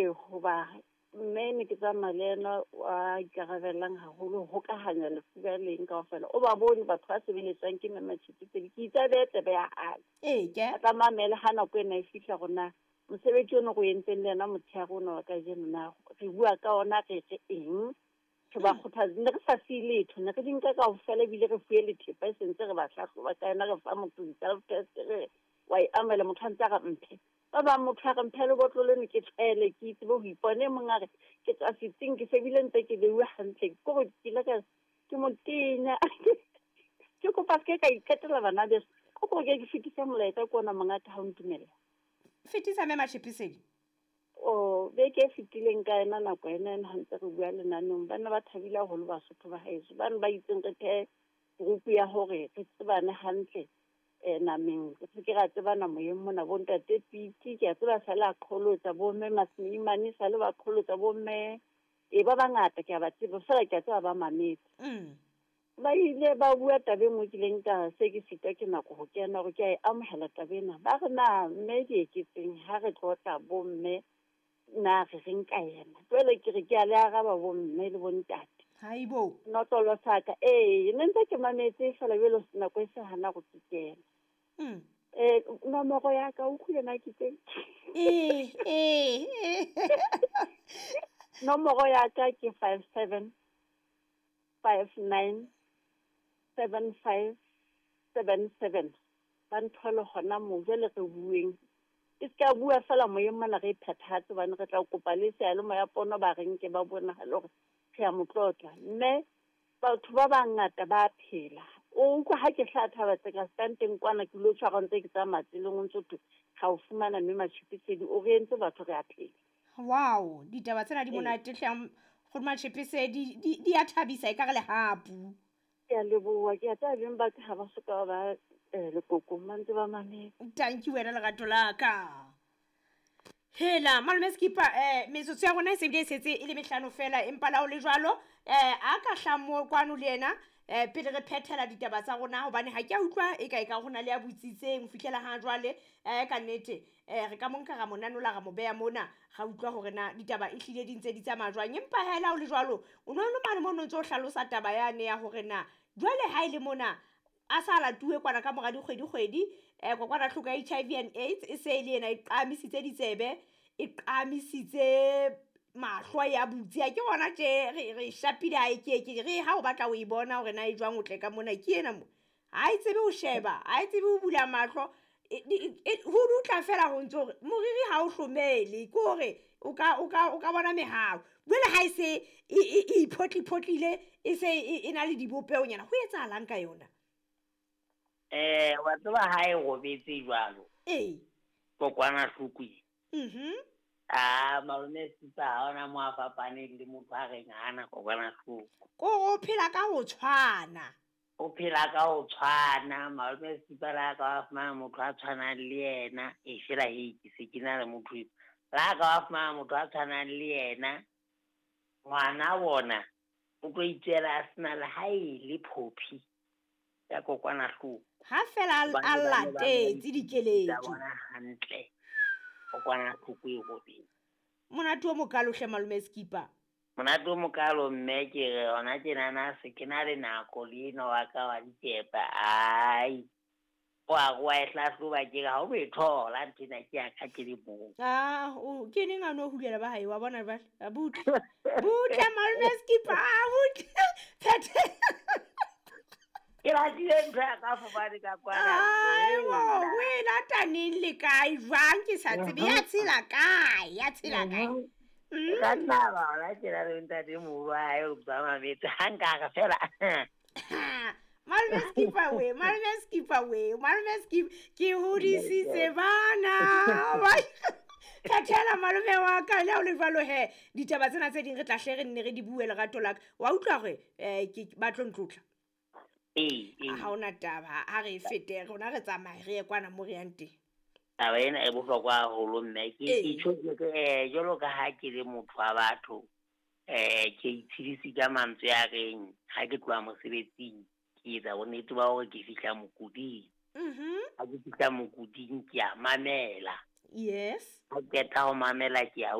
Ee, hoba mme ne ke tsamaya le yena wa ikarabellang haholo ho hokahanya lefu ba leng kaofela. O ba bone batho ba sebeletswang ke mme Matšhipisedi. Ke itse a behe tsebe ya hae. Ee, ke. A tla mamele ha nako ena e fihla hore na mosebetsi ono re o entseng le yena motshehare ona wa kajeno na re bua ka ona re re eng. Re ba kgothatsa. Ne re sa siye letho, ne re di nka kaofela ebile re fuwe le thepa e sentse re ba hlahloba ka yona, re fa motho di-self test re wa e amohela motho a ntse a re mphe. Ba bang motho a re mphe lebotlolo leno ke tshwele ke tsebe ho ipona. E mong a re ke tswa setsing ke se bile ntse ke beuwe hantle. Ke hore ke ile ka ke motenya. Ke kopa se ke ka iqetela bana beso. Ko ke ke fetisa molaetsa ke ona mongaka ha o ntumella. Fetisa mme Matšhipisedi. O beke e fetileng ka yona nako ena ena ha ntse re bua lenaneng, ba ne ba thabile haholo Basotho ba haeso. Ba ne ba itseng re thehe group ya hore re tsebane hantle nameng, re se ke ra tsebana moyeng mona. Bo ntate Piti, ke a tseba sale a qholotsa, bo mme Masmeimane sale ba qholotsa, bo mme e ba bangata ke a ba tseba, feela ke a tseba ba mametse. Ba ile ba bua taba e nngwe ke ileng ka se ke sitwa ke nako ho kena hore ke a e amohela taba ena. Ba re na mme Dieketseng ha re tlotla bo mme na re reng ka yena. Jwale ke re ke a le araba bo mme le bo ntate. Haibo. Notlolo sa ka. Ee, ne ntse ke mametse feela jwale nako e se hana go ke kena. Nomoro ya ka o utlwile na ke teng? Ee, ee. Nomoro ya ka ke 57 59 75 77. Ba nthole hona moo jwale re bueng. E se ka bua feela moyeng mona re e phethahatse hobane re tla kopa le seyalemoya pono ba re nke ba bonahale hore re a mo tlotla. Mme batho ba bangata ba phela. O utlwa ha ke hlaha thaba tse ka stanteng kwana ke lo tshwara ntse ke tsamaya tseleng o ntso thwe ga o fumana mme Matšhipisedi o re entse batho re a phela. Wow, ditaba tsena di monate hle go Matšhipisedi di a thabisa e ka re lehapu. Ke a leboha, ke a tseba beng ba ka ha ba soka ba lekokong ba ntse ba mametse. Thank you wena lerato la ka. Hela malome Skipper, metsotso ya rona e se bile e setse e le mehlano fela, empa la ho le jwalo a ka hla mo kwano le yena pele re phethela ditaba tsa rona, hobane ha ke a utlwa e ka e ka hona le ya botsitseng ho fihlela ha jwale. Ka nnete re ka mo nka ra mo nanola ra mo beha mona, ra utlwa hore na ditaba e hlile di ntse di tsamaya jwang. Empa hela ho le jwalo o no le mane mo no ntso hlalosa taba yane ya hore na jwale ha e le mona a sa latuwe kwana ka mora dikgwedi-kgwedi, kokwanahloko ya HIV and AIDS e se e le yena e qamisitse ditsebe, e qamisitse mahlo ya butse. Ha ke bona tje re shapile ha e ke re ha o batla ho e bona hore na e jwang o tle ka mona ke ena mo. Ha e tsebe ho sheba, ha e tsebe ho bula mahlo, ho dutla fela ho ntso hore moriri ha o hlomele, ke hore o ka bona mehau. Jwale ha e se e iphotli-photlile, e se e na le dibopehonyana, ho etsahalang ka yona? Wa tseba ha e robetse jwalo. Ee. Kokwanahloko e. Ah, malome Skipper ha ona mo a fapaneng le motho a reng ha ana kokwanahloko. Ko o phela ka ho tshwana. O phela ka ho tshwana, malome Skipper la ka wa fumana motho a tshwanang le yena, e fela he ke se ke na le motho eo. La ka wa fumana motho a tshwanang le yena, ngwana bona o tlo itswela a sena le ha e le phophi ya kokwanahloko. Ha fela a latetse dikeletso. Bona hantle. Kokwanahloko e robetse. Monate o mokalo hle malome Skipper. Monate o mokalo mme ke re hona tjenana se ke na le nako le enwa wa ka wa dikepa. Ai. Wa wa e hlahloba ke re ha o e thola nthwena ke ya ka ke le mong. Ah, o ke neng a no hulela ba hae wa bona jwale. A butle. Butle malome Skipper, a butle. Phethe. Ke ratile ntho ya ka fobane ka kwana. Ai, o e lata neng le kae jwang ke sa tsebe ya tshela kae, ya tshela kae. Ka nna ba ona ke na le ntate moholo wa hae o ba mametse ha nka re fela. Malome Skipper we, malome Skipper we, malome Skipper ke hodisitse bana. Thathela malome wa ka le ha o le jwalo he ditaba tsena tse ding re tla hle re nne re di bue lerato la ka. Wa utlwa hore ke ba tlo ntlotla. Ee. Ha hona taba, ha re fete rona re tsamaye re ye kwana mo re yang teng. Taba ena e bohlokwa haholo mme ke tjho ke jwalo ka ha ke le motho wa batho, ke itshedise ka mantswe a reng ha ke tloha mosebetsing ke etsa bonnete ba hore ke fihla mokuding. Ha ke fihla mokuding ke a mamela. Yes. Ha ke qeta ho mamela ke a